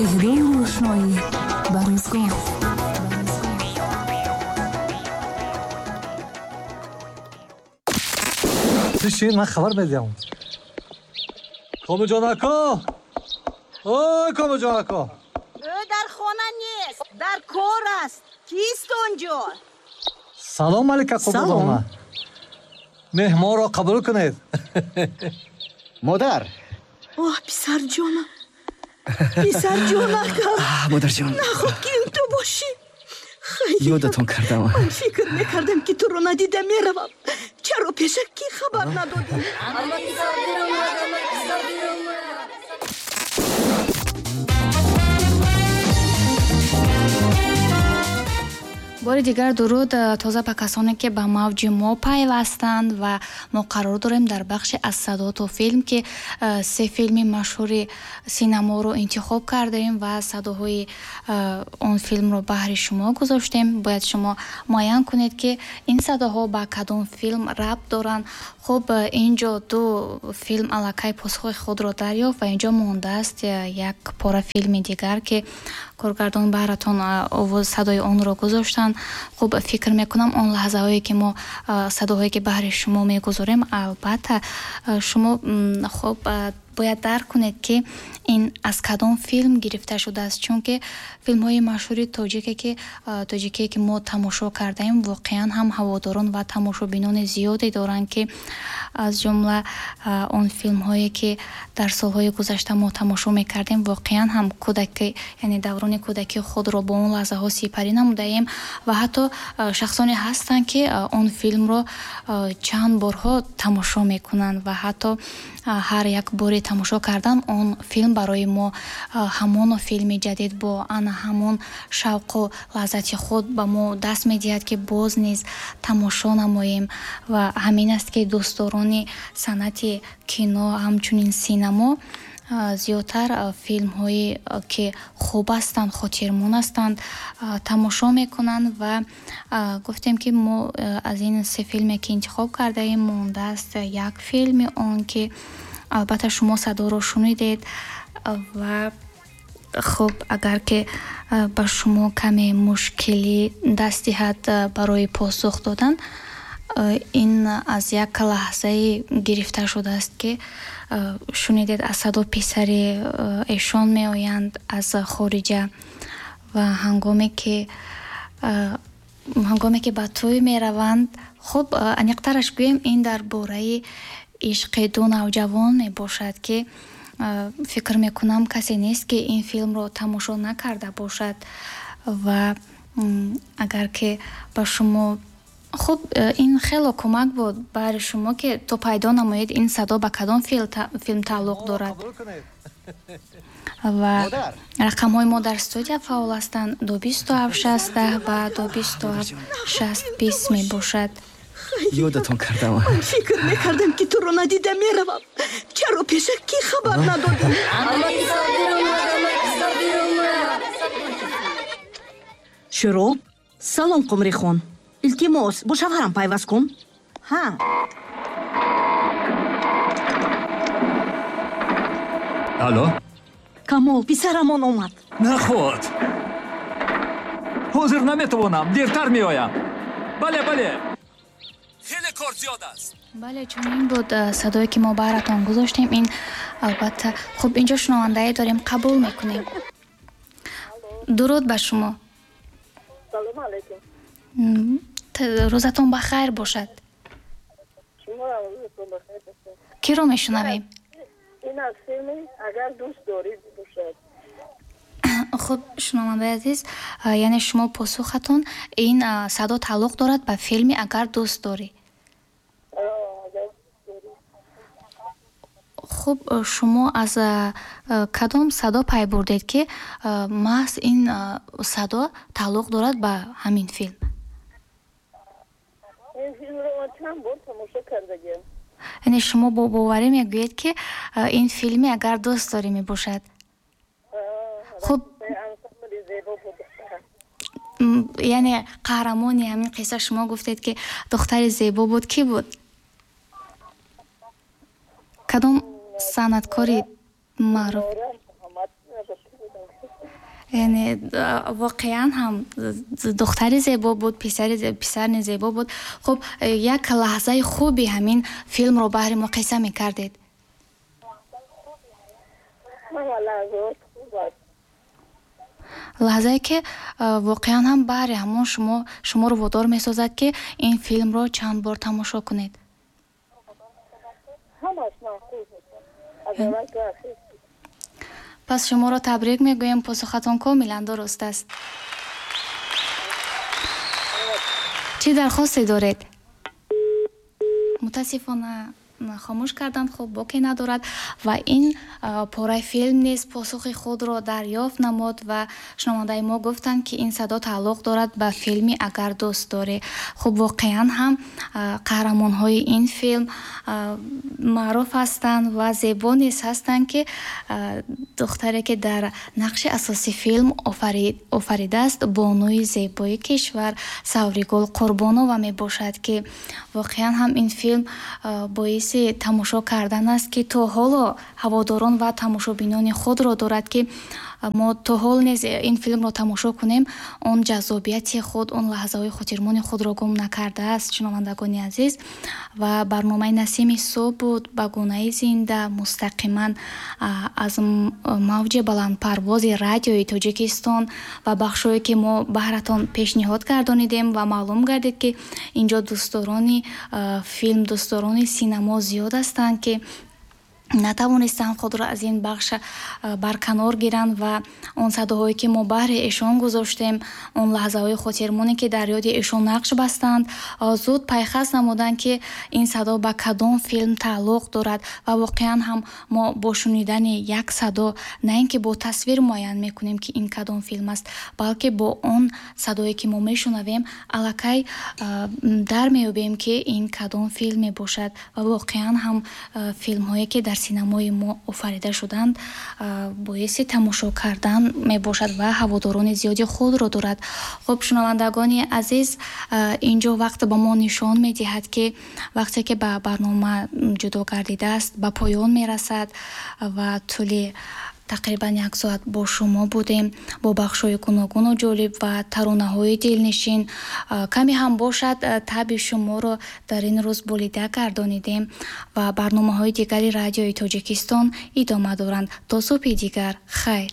Иҳдои рӯшноӣ ба рӯзгор. Бишин, ман хабар медиҳам. Комилҷон ака! Ой, Комилҷон ака! Ӯ дар хона нест, дар кор аст. Кист он ҷо? Салом, Малика Қурбоновна. Меҳмонро қабул кунед. Модар! Оҳ, писарҷонам! Писарҷонакам! Модарҷон! Наход ки ин ту бошӣ. Хайр. Ёдатон кардам. Ман фикр мекардам, ки туро надида меравам. Чаро пешакӣ хабар надодӣ? Бори дигар дуруд тоза ба касоне, ки ба мавҷи мо пайвастанд, ва мо қарор дорем дар бахши «Аз садо то филм», ки се филми машҳури синаморо интихоб кардаем ва садоҳои он филмро баҳри шумо гузоштем. Бояд шумо муайян кунед, ки ин садоҳо ба кадом филм рабт доранд. Хуб, ин ҷо ду филм аллакай посухи худро дарёфт ва инҷо мондааст як пора филми дигар, ки коргардон баҳратон овоз, садои онро гузоштанд. Хуб, фикр мекунам, он лаҳзаҳое ки мо садоҳое ки баҳри шумо мегузорем, албатта шумо хуб бояд дарк кунед, ки ин аз кадом филм гирифта шудааст, чунки филмҳои машҳури тоҷике ки тоҷикие ки мо тамошо кардаем, воқеан ҳам ҳаводорон ва тамошобинони зиёде доранд, ки аз ҷумла он филмҳое ки дар солҳои гузашта мо тамошо мекардем, воқеан ҳам кӯдаки, яъне даврони кӯдакии худро бо он лаҳзаҳо сипарӣ намудаем. Ва ҳатто шахсоне ҳастанд, ки он филмро чанд борҳо тамошо мекунанд ва ҳатто ҳар як бори тамошо кардан он филм барои мо ҳамоно филми ҷадид бо ана ҳамон шавқу лаззати худ ба мо даст медиҳад, ки боз низ тамошо намоем. Ва ҳамин аст, ки дӯстдорони санъати кино, ҳамчунин синамо зиёдтар филмҳое ки хуб ҳастанд, хотирмон ҳастанд, тамошо мекунанд. Ва гуфтем, ки мо аз ин се филме ки интихоб кардаем, мондааст як филми он, ки албатта шумо садоро шунидед. Ва хуб, агар ки ба шумо каме мушкилӣ даст диҳад барои посух додан, ин аз як лаҳзае гирифта шудааст, ки шунидед, аз садо писари эшон меоянд аз хориҷа ва ҳангоме ки ба тӯй мераванд. Хуб, аниқтараш гӯем, ин дар бораи ишқи ду навҷавон мебошад, ки фикр мекунам, касе нест, ки ин филмро тамошо накарда бошад. Ва агар ки ба шумо хуб, ин хело кӯмак буд баҳри шумо, ки то пайдо намоед, ин садо ба кадом филм тааллуқ дорад. Ва рақамҳои мо дар студия фаъол ҳастанд: 2 27 60 10 ва 2 27 60 20 мебошад. Ёдатон кардам. Ман фикр мекардам, ки туро надида меравам. Чаро пешакӣ хабар надодӣ? Шӯроб. Салом, Қумрихон. Илтимос, бо шавҳарам пайваст кун. Ҳа. Алло. Камол, писарамон омад. Наход, ҳозир наметавонам, дертар меоям. Бале, бале, хеле кор зиёд аст. Бале, чунин буд садое ки мо баҳратон гузоштем. Ин албатта хуб, инҷо шунавандае дорем, қабул мекунем. Дуруд ба шумо. Салому алайкум. Рӯзатон ба хайр бошад. Шумо рӯзатон ба хайр бошад. Киро мешунавем? Ин аз филми «Агар дӯст дорӣ» бошад. Хуб, шунавандаи азиз, яъне шумо посухатон ин садо тааллуқ дорад ба филми «Агар дӯст дорӣ». «Агар дӯст дорӣ». Хуб, шумо аз кадом садо пай бурдед, ки маҳз ин садо тааллуқ дорад ба ҳамин филм? Ин филмро ман чанд бор тамошо кардагиам. Яъне шумо бо боварӣ мегӯед, ки ин филми «Агар дӯст дорӣ» мебошад. Хуб. Ансамбли зебо буд. Яъне қаҳрамони ҳамин қисса, шумо гуфтед, ки духтари зебо буд, кӣ буд? Кадом санъаткори маъруф? Нора Муҳаммад кӣ будам? Яъне воқеан ҳам духтари зебо буд, писар низ зебо буд. Хуб, як лаҳзаи хуби ҳамин филмро баҳри мо қисса мекардед. Ҳама лаҳзаҳош хуб аст. Лаҳзае ки воқеан ҳам баҳри ҳамон шумо шуморо водор месозад, ки ин филмро чанд бор тамошо кунед. Ҳамаш маъқул бошад, аз аввал то ахир. Пас шуморо табрик мегӯем, посухатон комилан дуруст аст. Чӣ дархосте доред? Мутаассифона, хомӯш карданд. Хуб, боке надорад ва ин пораи филм низ посухи худро дарёфт намуд ва шунавандаи мо гуфтанд, ки ин садо тааллуқ дорад ба филми «Агар дӯст дорӣ». Хуб, воқеан ҳам қаҳрамонҳои ин филм маъруф ҳастанд ва зебо низ ҳастанд, ки духтаре, ки дар нақши асоси филм офаридааст, бонуи зебои кишвар Савригул Қурбонова мебошад, ки воқеан ҳам ин филм боиси тамошо кардан аст, ки то ҳоло ҳаводорон ва тамошобинони худро дорад, ки мо то ҳол низ ин филмро тамошо кунем, он ҷаззобияти худ, он лаҳзаҳои хотирмони худро гум накардааст. Шунавандагони азиз, ва барномаи «Насими субҳ» буд ба гунаи зинда, мустақиман аз мавҷи баландпарвози Радиои Тоҷикистон ва бахшҳое, ки мо баҳратон пешниҳод гардонидем ва маълум гардид, ки инҷо дӯстдорони филм, дӯстдорони синамо зиёд ҳастанд, ки натавонистанд худро аз ин бахш барканор гиранд ва он садоҳое, ки мо баҳри эшон гузоштем, он лаҳзаҳои хотирмоне, ки дар ёди эшон нақш бастанд, зуд пайхас намуданд, ки ин садо ба кадом филм тааллуқ дорад. Ва воқеан ҳам мо бо шунидани як садо на ин ки бо тасвир муайян мекунем, ки ин кадом филм аст, балки бо он садое, ки мо мешунавем, аллакай дар меёбем, ки ин кадом филм мебошад. Ва воқеан ҳам филмҳое, ки дар синамои мо офарида шуданд, боиси тамошо кардан мебошад ва ҳаводорони зиёди худро дорад. Хуб, шунавандагони азиз, инҷо вақт ба мо нишон медиҳад, ки вақте ки ба барнома ҷудо гардидааст, ба поён мерасад ва тӯли тақрибан як соат бо шумо будем бо бахшҳои гуногуну ҷолиб ва таронаҳои дилнишин. Каме ҳам бошад, таъби шуморо дар ин рӯз болида гардонидем ва барномаҳои дигари Радиои Тоҷикистон идома доранд. То субҳи дигар, хайр.